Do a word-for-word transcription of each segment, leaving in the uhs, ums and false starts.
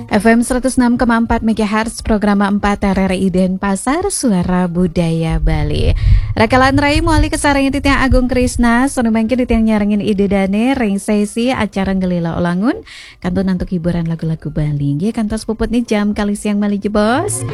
F M seratus enam koma empat megahertz, program empat R R I Denpasar, Suara Budaya Bali. Rakalan rai mawali kasarengin titiang Agung Krisna, sané mangkin titiang nyarengin Ida Dané ring sesi acara Ngelila Ulangun, kantun antuk hiburan lagu-lagu Bali. Nggih, kantos puputné jam kalih siang malih jebos.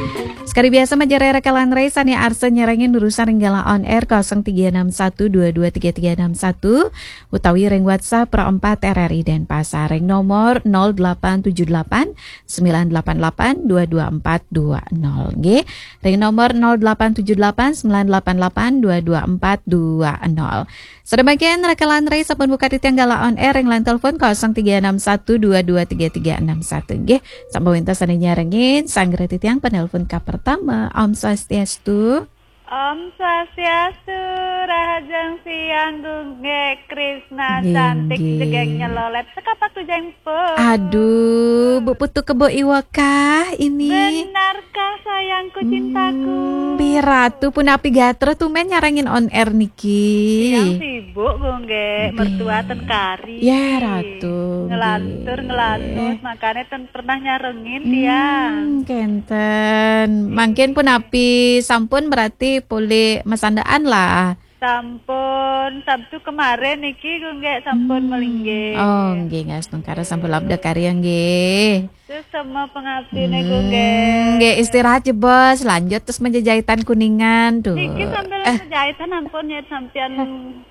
Sekadi biasa majeng rakalan rai sané arsa nyarengin nurusan ring galah on air kosong tiga enam satu dua dua tiga tiga enam satu utawi ring WhatsApp Pro empat R R I Denpasar ring nomor nol delapan tujuh delapan sembilan delapan delapan dua dua empat dua nol. Nggih, ring nomor nol delapan tujuh delapan sembilan delapan delapan dua dua empat dua nol. Sané mangkin rakalan rai sampun buka titiang galah on air ring line telepon kosong tiga enam satu dua dua tiga tiga enam satu. Nggih, sampun wénten sané nyarengin, sanggra titiang penelpon kapertama. Om Swastiastu. Om Swastiastu, rahajeng siang, Gung Gé Krisna, nggih, cantik, nggih, jegég nyelolet, sekapak tujeng pun. Aduh, Bu Putu Kebo Iwa kah ini? Benarkah, sayangku, cintaku? Hmm, Bi Ratu, punapi gatra tumbén nyarengin on air niki? Tiang sibuk, Gung Gé, nggih, mertua ten kari. Ya, Ratu, ngelantur, nggih, ngelanus, makanya ten pernah nyarengin, hmm, tiang. Kénten. Mangkin punapi sampun berarti polih masandaan lah. Sampun, Sabtu kemarin niki, Gung Gé, sampun, hmm, melinggih. Oh, nggih, nggih, astungkara sampun labda karya, nggih. Terus sama pengabdiné, hmm, Gung Gé. Nggih, istirahat jebos, lanjut terus menjejaitan Kuningan tuh. Niki sambil, eh, menjejaitan ampun ya sampean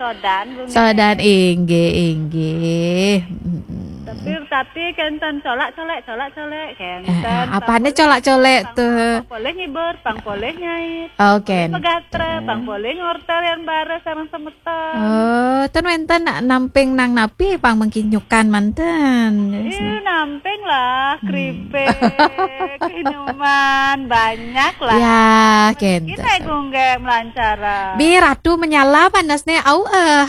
sodan, Gung Gé. Sodan, inggih, inggih. Mm-mm. Tapi, tapi kénten colak-colek, colak-colek, kénten. Eh, eh, apane colak-colek tuh? Pang polih ngibur, pang polih nyait. Oh, kénten. Pang polih pegatra, pang polih ngortel yang bareng sareng semeton. Oh, ten wénten namping nang napi pang mengkinyukan manten. Ih, namping lah, hmm, keripik, minuman, banyak lah. Ya, kénten. Kita, Gung Gé, melancara. Bi Ratu menyala panasnya, au, eh. Ah,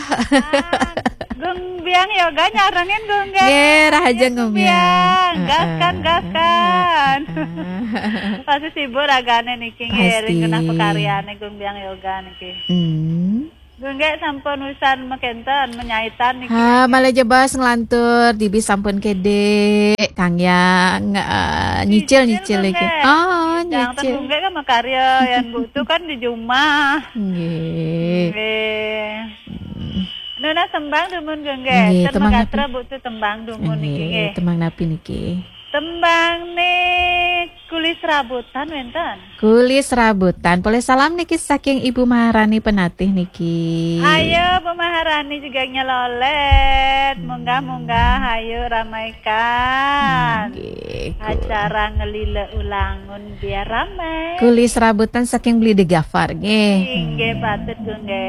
Gung Biang Yoga nyarengin, Gung Gé. Nggih, rahajeng, Gung Biang. Biang. Heeh. Gaskan, gaskan. Heeh. Pasti sibuk ragané niki, ngiring genah pakaryané Gung Biang Yoga niki. Hmm. Gung Gé sampun usan mekénten, menyaitan niki. Ha, malih jebos nglantur, dibi sampun kédé, Kang Yang, eh, nyicil, nyicil, nyicil Gung Gé. Oh, nyicil. Gung Gé kan makarya, yang Bu Tu kan di jumah. Nggih. Nggih. Hmm. Nunas tembang dumun, Gung Gé. Nggih, ten tembang napi? Magatra Bu Tu tembang dumun niki, nggih, nggih. Tembang napi niki? Tembang nih Kulis Rabutan wénten. Kulis Rabutan. Polih salam niki saking Ibu Maharani Penatih niki. Ayo, Bu Maharani juga nyelolet. Hmm. Munggah-munggah, ayo ramaikan. Nggih, Gung. Acara Ngelila Ulangun biar ramai. Kulis Rabutan saking Beli Degafar, nggih. Inggih, patut, Gung Gé.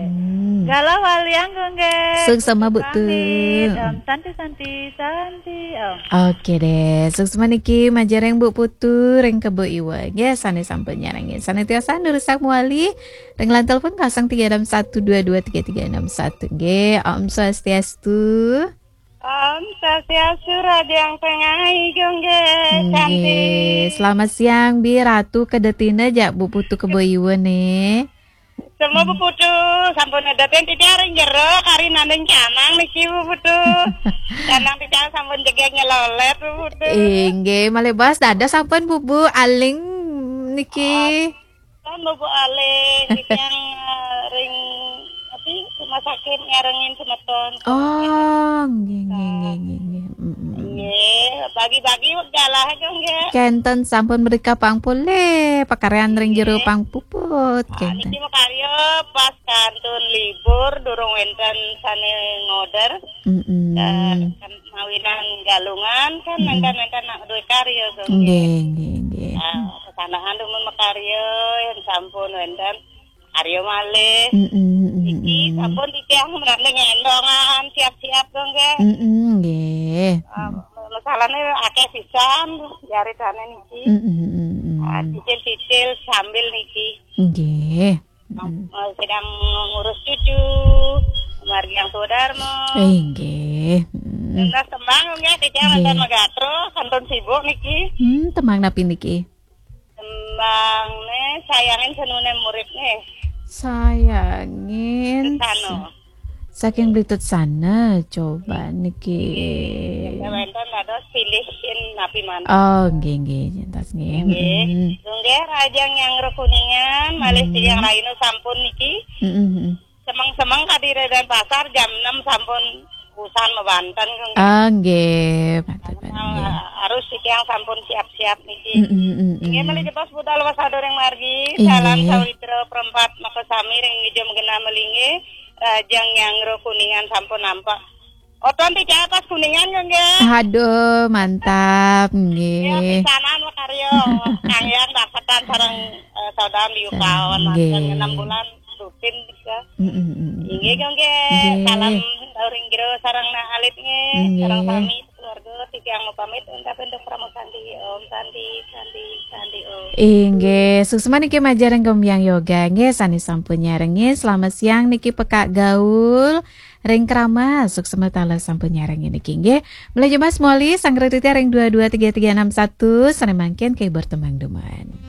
Hmm. Galah waliang, Gung Gé. Suksma, Bu Tu. Pamit. Om Santi, Santi, Santi, Om. Oke deh, suksma niki majeng ring Bu Putu, ring Kebo Iwa. Nggih, sané sampun nyarengin. Sané tiosan nurusak mawali ring line telepon kosong tiga enam satu dua dua tiga tiga enam satu. Nggih, Om Swastiastu. Om Swastiastu, Raja yang Tengah, Gung Gé. Nggih, cantik. Selamat siang, Bi Ratu, kedetina jak Bu Putu Kebo Iwa nih. Semua Bu Putu, sampun nedatin titiang ring jero, kari nanding canang niki, Bu Putu. Canang titiang sampun jegég nyelolet, Bu Putu. Inggih, malih bos dados sampun, Bu, Bu, aling niki. Oh, kan Bu, Bu, aling, titiang, eh, ring, apa, rumah sakit nyarengin semeton. Oh, nggih, nggih, nggih, nggih, nggih. Mm, mm, mm. Nggih, bagi-bagi wektu lah, nggih. Kénten sampun mrika pang polih, pakaryan ring jero, nggih, pang puput, ah, kénten. Niki makarya pas kantun libur, durung wénten sané ngorder. Mm-mm. Eh, kan mawinan Galungan, kan, mm-mm, wénten-wénten nak duwe karya, nggih. Nggih, nggih, nggih. Ah, sesanakan dumun makarya, yang sampun wénten. Arya malih. Mm-mm, mm-mm. Niki sampun titiang mrene ngendongan siap-siap to, nggih. Mm-mm, nggih. Ah, masalahne akeh pisan jaritane niki. Mm-mm, mm-mm. Ah, cicil-cicil sambil niki. Nggih. Mm-mm. Eh, sedang ngurus cucu, margi yang Sudarmo. Eh, nggih. Mm-mm. Entas tembang, nggih, titiang, nggih, wonten Megatro, sampun sibuk niki. Hmm, tembang napi niki? Tembang ne sayangin senune murid ne. Sayangin. Sesano. Saking Blitut sana, coba niki. Wénten dados pilih sin napi mantun. Oh, nggih nggih, jentos nggih. Nggih. Mm-mm. Nggih, rahajeng nyanggra Kuningan, malih Hmm. tiyang rahina sampun niki. Mm-mm. Semeng-semeng kadi ring Denpasar jam enam sampun usan mabanten, nggih. Ah, nggih, patut banget Nah, nggih. harus tiyang sampun siap-siap niki. Mm-mm, mm-mm. Inggih, malih jebos budal wasada ring margi. Inggih. Salam sawitra perempat makasami ring Ngejo Genah Melinggih. Rahajeng nyanggra Kuningan sampun nampak. Oton ti catas Kuningan, nggih. Aduh, mantap nggih. Ya, pisanan makarya. Kang Yang dapetan sareng, eh, saudara Liu Sareng, Kawan, nggih. manten enam bulan rutin, ya. Mm-mm, mm-mm. Inggih, nggih. Nggih. Salam ring jero sareng Nah Alit, nggih. Nggih. Sareng sami keluarga, titiang mapamit, ungkapin untuk Parama Santi. Om Santi, Santi, Santi, Om. Inggih, suksma niki majeng ring Gembyang Yoga nggih, sane sampun nyarengin. Selamat siang niki Pekak Gaul ring Kramas. Suksma taler sampun nyarengin niki nggih. Malih jebos mawali sanggra titiang ring dua dua tiga tiga enam satu, sane mangkin kehibur tembang dumun.